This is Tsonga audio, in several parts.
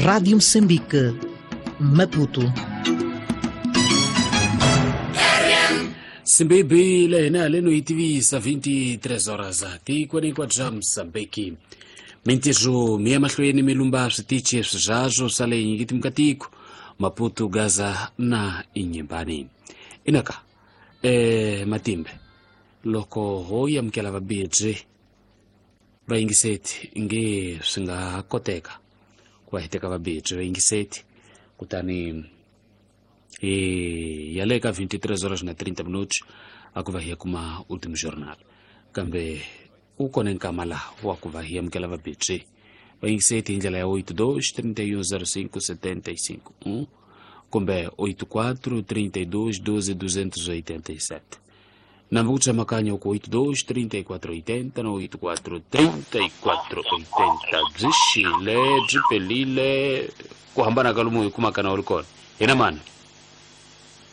Rádio Moçambique, Maputo. Simbebile hina haleno yi tivisa 23 horas tikweni hinkwabyo bya Mozambique. Mintirho mi ya mahlweni mi lumba switichi swizazwo swa le nyingitimukatiko Maputo, Gaza na Inyimbani. Inaka matimbe loko ho yamukela vabirhi va yingiseti nge swi nga koteka ku va hi teka vabirhi va yingiseti kutani hi ya le ka 23 horas na 30 minutos a ku va hi ya kuma ultimo jornal, kambe u kona nkama laha wa ku va hi amukela vabirhi va yingiseti hi ndlela ya 82 31 05 75 kumbe 84 32 12 287. Nambu ku tsemakanya ku 82 34 80 na 84 34 80. Byi xile byi pelile ku hambana ka lomu hi kumaka na u ri kona hina mani.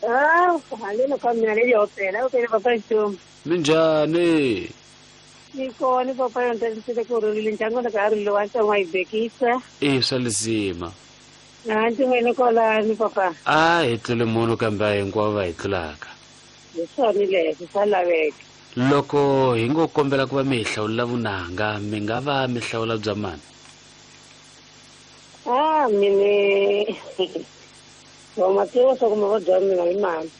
Ah, haleno ka mina leyi opela opela papa Ntombi. Minjhani? Ni kona papa yo ntsena ku rhulile ndyangu loko a ri lowa ntsongo yi bekisa. I swa lisima. Na ndzi n'wini kwalani papa. A hi tlule munhu kambe a hinkwavo va hi tlulaka. Hi swona leswi swa laveka. Loko hi ngo kombela ku va mi hi hlawulela vunanga, mi nga va mi hlawula bya mani? Ah, mine wa ma tiva swa ku mavabyi ya mina i mani.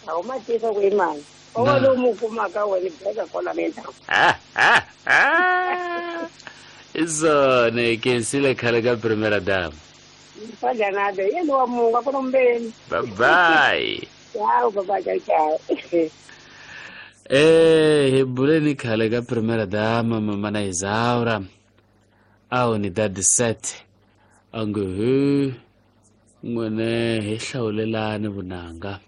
A wu ma tiva ku i mani. O va lowu mu kumaka wena beka kwala ndzhaku. I swona hi khensile khale ka primera dama. Fadyanade yena wa mungu a ku na mbeni. Bye bye. Ciao bye ciao ciao. Hi buleni khale ka primera dama mama na Isaura. A unidade 7. A nge he n'wene hi hlawulelani vunanga.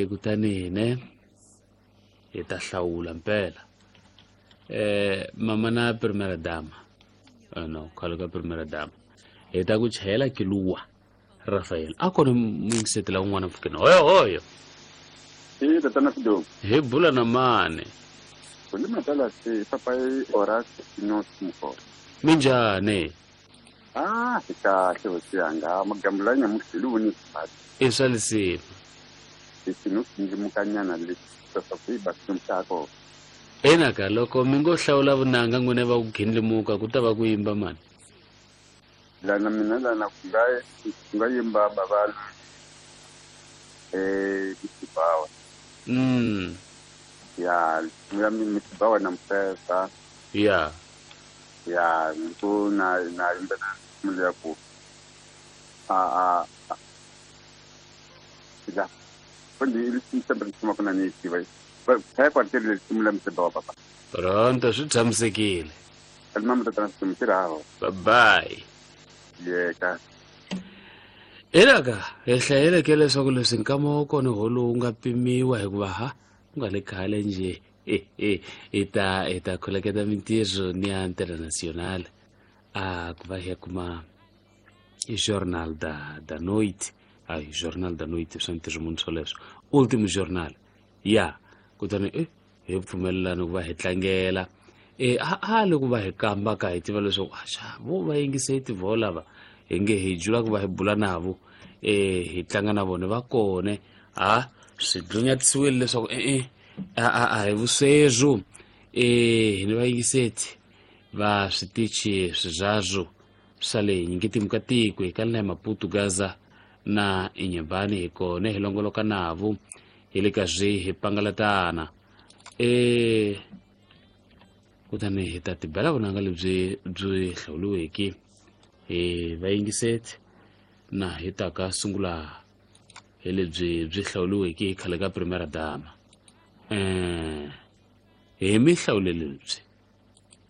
Kutani hine hi ta hlawula mpela. Mama na primera dama. No, khale ka primera dama. Hi ta ku chayela kiluwa Rafael. A kona muyingisetela un'wana mpfhukeni. Hoyo hoyo. I tatana Fido. Hi bula na mani. Ku ni matala se papa i Horace Sinos Mukoro. Minjhani? Ah, hi kahle hosi yanga. Magambula nyamuhla hi voni xipati. I swa lisima. Leswi no sindlimukanyana leswi leswaku hi ba xikwembu. Enaka loko mi ngo hlawula vunanga n'wina va ku gindlimuka ku ta va ku yimba mani? Lana mina lana ku nga ku nga yimba bava Misibawa. Ya, ya Misibawa na Mfesa. Ya. Ya, ku na na yimba na ya ku. A a ya. Kundi ili sempre kuma kuna ni tiva. Kaya kwa tele simula Misibawa papa. Pronto swi tshamisekile. Mama tatana Misibawa. Bye bye. Yeka. Elaka hi hlayeleke leswaku leswi nkama wa kona ho lowu nga pimiwa hikuva ha ku nga le khale njhe hi ta khuleketa mintirho ni ya international a ku va hi ya kuma i Jornal da Noite. Ai Jornal da Noite swa ntirho munhu swoleswo. Ultimo Jornal. Ya kutani hi pfumelelana ku va hi tlangela. A loko va hi kamba ka hi tiva leswaku axa vo va yingiseti vo lava hi nge hi jula ku va hi bula navo hi tlanga na vona va kone a swi dlunyatisiwile leswaku a hi vuswezwo hi ni vayingiseti va switichi swizazwo swa le nyingitimu ka tiko hi ka la Maputo, Gaza na Inhambane hi kone hi longoloka navo hi le ka swi hi pangalatana kutani hi ta tibela vunanga lebyi byi hlawuriweke hi vayingiseti na hi ta ka sungula hi lebyi byi hlawuriweke hi khale ka primera dama. Hi mi hlawulele lebyi.